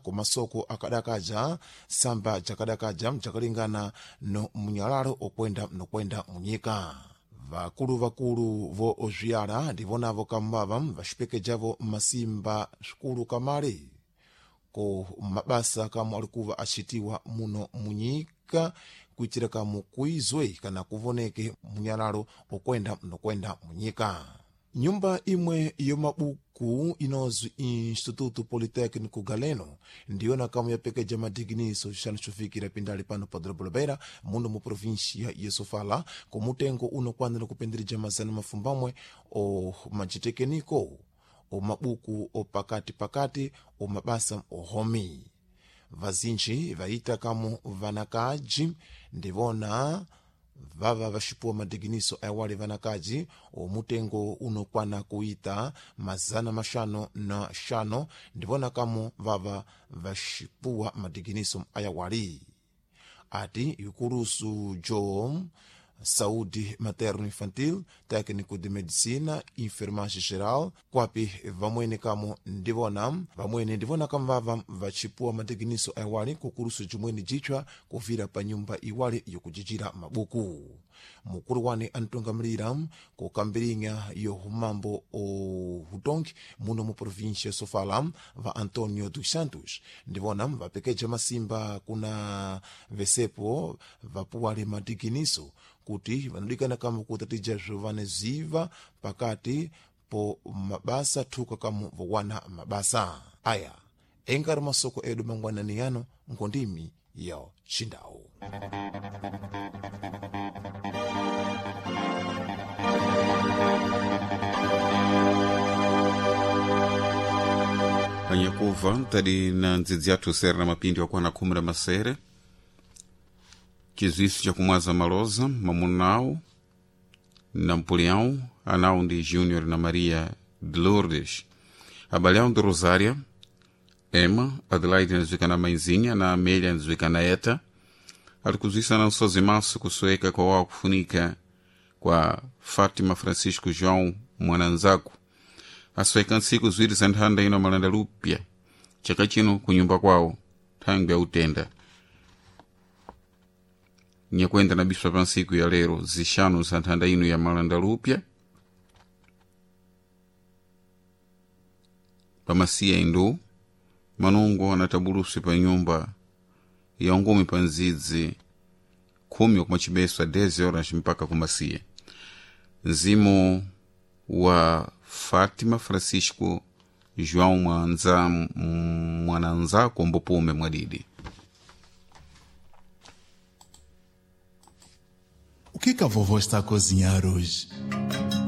Kumasoko akadakaja samba jakadakaja jakalingana no munyalalo okwenda nokwenda munyika. Vakulu-vakulu vo ozwiyala ndivonavo kamwava vaxipekejavo masimba swikulu kamale ko mabasa kamwe alikuva acitiwa muno munyika kuitira kamu kuizwe kana kuvoneke munyalalo okwenda nokwenda munyika. Nyumba imwe yomabuku inozwi Instituto Politécnico Galeno ndiyona kamwe yapekeja madiginiso xixanu xofikira pindali pano pa dorobo la Beira, muno mu província ya Sofala, ku mutengo unokwanira kupendereja 500 o macitekeniko o mabuku opakati-pakati o mabasa ohomi. Vazinji vaita kamu vanakaji ndivona vava vaxipuwa madiginiso awali vanakaji omutengo unokwana kuita 505, ndivona kamu vava vaxipuwa madiginiso ayawali. Ati ikulusu jo saúde materno infantil, técnico de medicina, enfermagem geral, kwapi vamwene kamo ndivona vamwene ndivona kamvava vachipuwa madiginiso awali kukulusu jimwene jitchwa kuvira pa nyumba iwali yokujijira mabuku. Mukulu wane antungamilira kukambirinya yohumambo ohutongi muno mu província Sofala, va Antonio dos Santos, ndivona vapekeja masimba kuna vesepo vapuwale madiginiso kuti vanodikana kama kutatija zvovaneziva pakati po mabasa thuka kamu vowana mabasa aya. Engari masoko edu mangwanani yano ngondimi ya chindau. Anyakuva tali na ndzidzi yathu sere na mapindi wakwana 17. Chizwiso chakumwaza maloza mamunawu na mpuliawu anawu ndi Júnior na Maria de Lourdes, abale awo ndi Rosária, Emma, Adelaide andziwika na maizinha na Amélia andziwika na Eta. Ali kuzwisa na nsozi maso kusoeka kwa wawo kufunika kwa Fátima Francisco João mwananzaku, asoeka ntsiku ziwiri za nthanda ino malanda lupya chaka chino kunyumba kwawo thangwi ya utenda. Nyakwenda na biswa pa ntsiku ya lero zixanu za nthanda ino ya malanda lupya pamasiya indu manungo anatabulusi pa nyumba ya ngumi pa nzidzi 10 kumachibeswa 10 horas mpaka kumasiya. Mzimu wa Fátima Francisco João Mwanza mwananzako mbupume mwadidi. O que que a vovó está a cozinhar hoje?